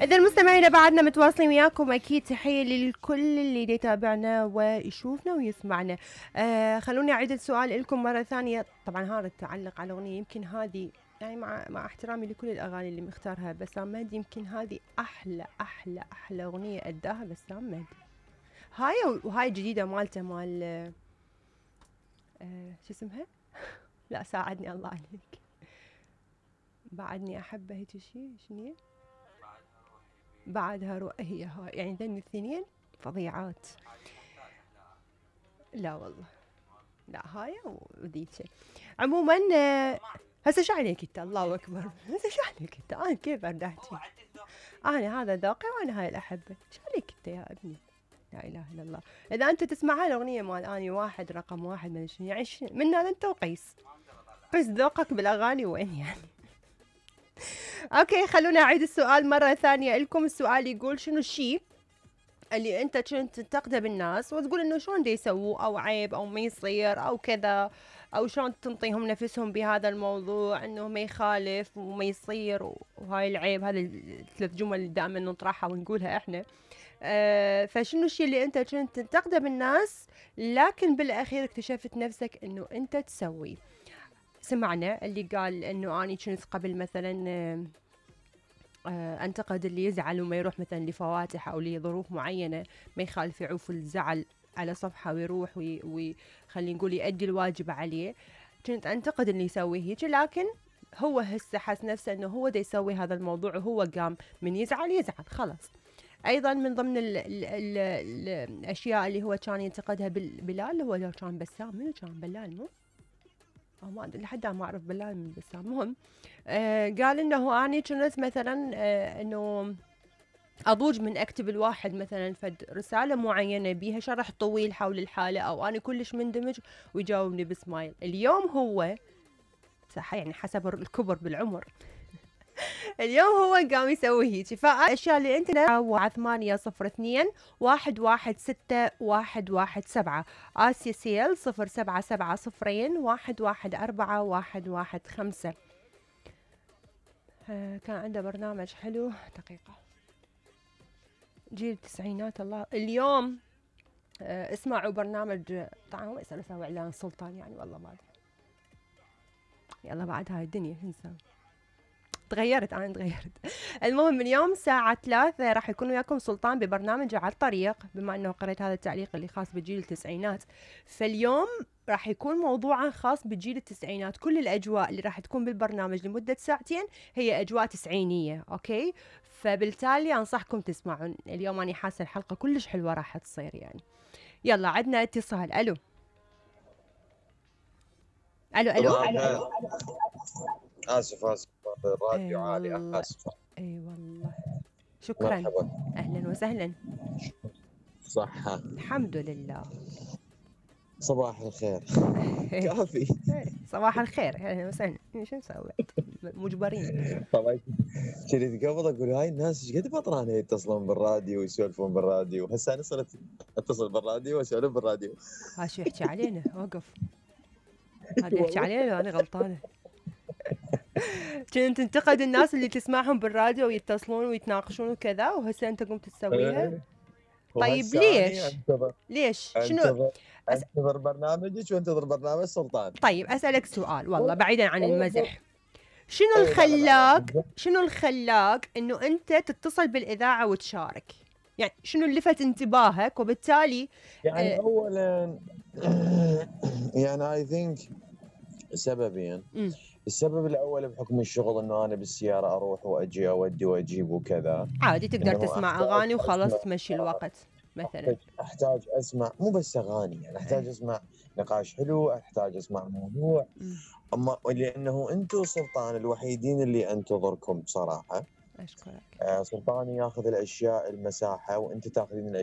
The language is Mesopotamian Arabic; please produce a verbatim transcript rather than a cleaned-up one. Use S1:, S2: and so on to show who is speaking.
S1: إذا المستمعين بعدنا متواصلين وياكم، أكيد تحية للكل اللي يتابعنا ويشوفنا ويسمعنا. آه خلوني أعيد السؤال لكم مرة ثانية. طبعا هذا تعلق على أغنية، يمكن هذه يعني مع مع احترامي لكل الأغاني اللي مختارها بسام مهدي، يمكن هذه أحلى أحلى أحلى أغنية أداها بسام مهدي. هاي وهاي جديدة مالته مال آه شو اسمها؟ لا ساعدني الله عليك. بعدني أحبه هيك شيء، شنو هي؟ بعدها روح، هي هاي يعني ذن الاثنين فظيعات. لا والله لا هاي وذيك. عموما هسه شو عليك انت؟ الله اكبر، هسه شو عليك انت؟ انا كيف اردحتي؟ انا هذا ذوقي وانا هاي الاحبه، شو عليك انت يا ابني؟ لا اله الا الله. اذا انت تسمع هاي الاغنيه مال اني واحد رقم واحد من شنو يعني من هذا انت وقيس قيس ذوقك بالاغاني وين يعني؟ اوكي خلونا اعيد السؤال مره ثانيه لكم. السؤال يقول شنو الشيء اللي انت كنت تنتقده بالناس وتقول انه شلون دي يسووه او عيب او ما يصير او كذا، او شلون تنطيهم نفسهم بهذا الموضوع انه ما يخالف وما يصير وهاي العيب. هذا الثلاث جمل اللي دائما نطرحها ونقولها احنا. آه فشنو الشيء اللي انت كنت تنتقده بالناس لكن بالاخير اكتشفت نفسك انه انت تسوي؟ سمعنا اللي قال انه اني كنت قبل مثلا آه آه انتقد اللي يزعل وما يروح مثلا لفواتح او لظروف معينه، ما يخالف يعوف الزعل على صفحه ويروح وخلينا نقول يؤدي الواجب عليه. كنت انتقد اللي يسوي هيك، لكن هو هسه حس نفسه انه هو دا يسوي هذا الموضوع وهو قام من يزعل يزعل خلاص. ايضا من ضمن ال ال ال ال الاشياء اللي هو كان ينتقدها بلال، هو لو كان بسام، منو كان بلال مو؟ أو ما أدري لحد ما أعرف بلال من بسام. المهم آه قال إنه أنا كنت مثلا آه إنه أضوج من أكتب الواحد مثلا فد رسالة معينة بيها شرح طويل حول الحالة أو أنا كلش مندمج ويجاوبني بسمايل. اليوم هو صح يعني حسب الكبر بالعمر اليوم هو قام يسوي هيك. فالأشياء اللي أنت على ثمانية صفر اثنين واحد واحد ستة واحد واحد سبعة آسيا سيل صفر سبعة سبعة صفرين واحد واحد أربعة واحد واحد خمسة. آه كان عنده برنامج حلو. دقيقة جيل التسعينات الله. اليوم آه اسمعوا برنامج طبعا هو يسأل اسوي اعلان سلطان يعني والله ما ادري. يلا بعد هاي الدنيا شو نسوي؟ تغيرت انا تغيرت. المهم من يوم الساعة ثلاثة راح يكون وياكم سلطان ببرنامج على الطريق، بما انه قريت هذا التعليق اللي خاص بجيل التسعينات. فاليوم راح يكون موضوعا خاص بجيل التسعينات. كل الاجواء اللي راح تكون بالبرنامج لمدة ساعتين هي اجواء تسعينية. اوكي فبالتالي انصحكم تسمعون. اليوم انا حاسة الحلقة كلش حلوة راح تصير يعني. يلا عندنا اتصال. الو الو الو, ألو.
S2: اسف اسف الراديو
S1: أي
S2: عالي
S1: والله.
S2: اسف.
S1: اي والله شكرا.
S2: مرحبا.
S1: اهلا وسهلا.
S2: صحة
S1: الحمد لله.
S2: صباح الخير. كافي.
S1: صباح الخير اهلا وسهلا. شو نسوي مجبرين.
S2: طبعا كنت قبل اقول هاي الناس ايش قد بطران يتصلون بالراديو ويسولفون بالراديو، هسه انا صرت اتصل بالراديو واسولف بالراديو.
S1: ها شو يحكي علينا؟ وقف. هذا يحكي علينا لو انا غلطانه. كنت تنتقد الناس اللي تسمعهم بالراديو ويتصلون ويتناقشون وكذا، وهسه انت قمت تسويها. طيب ليش؟ ليش؟ شنو؟
S2: انتظر أس... انتظر برنامجك وانتظر برنامج سلطان.
S1: طيب اسالك سؤال والله بعيدا عن المزح. شنو الخلاك شنو الخلاك انه انت تتصل بالاذاعه وتشارك؟ يعني شنو اللي لفت انتباهك وبالتالي
S2: يعني آه اولا يعني اي ثينك سببين. م. السبب الاول بحكم الشغل انه انا بالسياره اروح واجي اودي واجيب وكذا،
S1: عادي تقدر تسمع اغاني وخلاص تمشي الوقت مثلا.
S2: احتاج اسمع مو بس اغاني يعني احتاج أه. اسمع نقاش حلو، احتاج اسمع موضوع. م. اما لانه انتم سلطان الوحيدين اللي انتظركم بصراحه.
S1: اشكرك.
S2: آه سلطان ياخذ الاشياء المساحه وانت تاخذين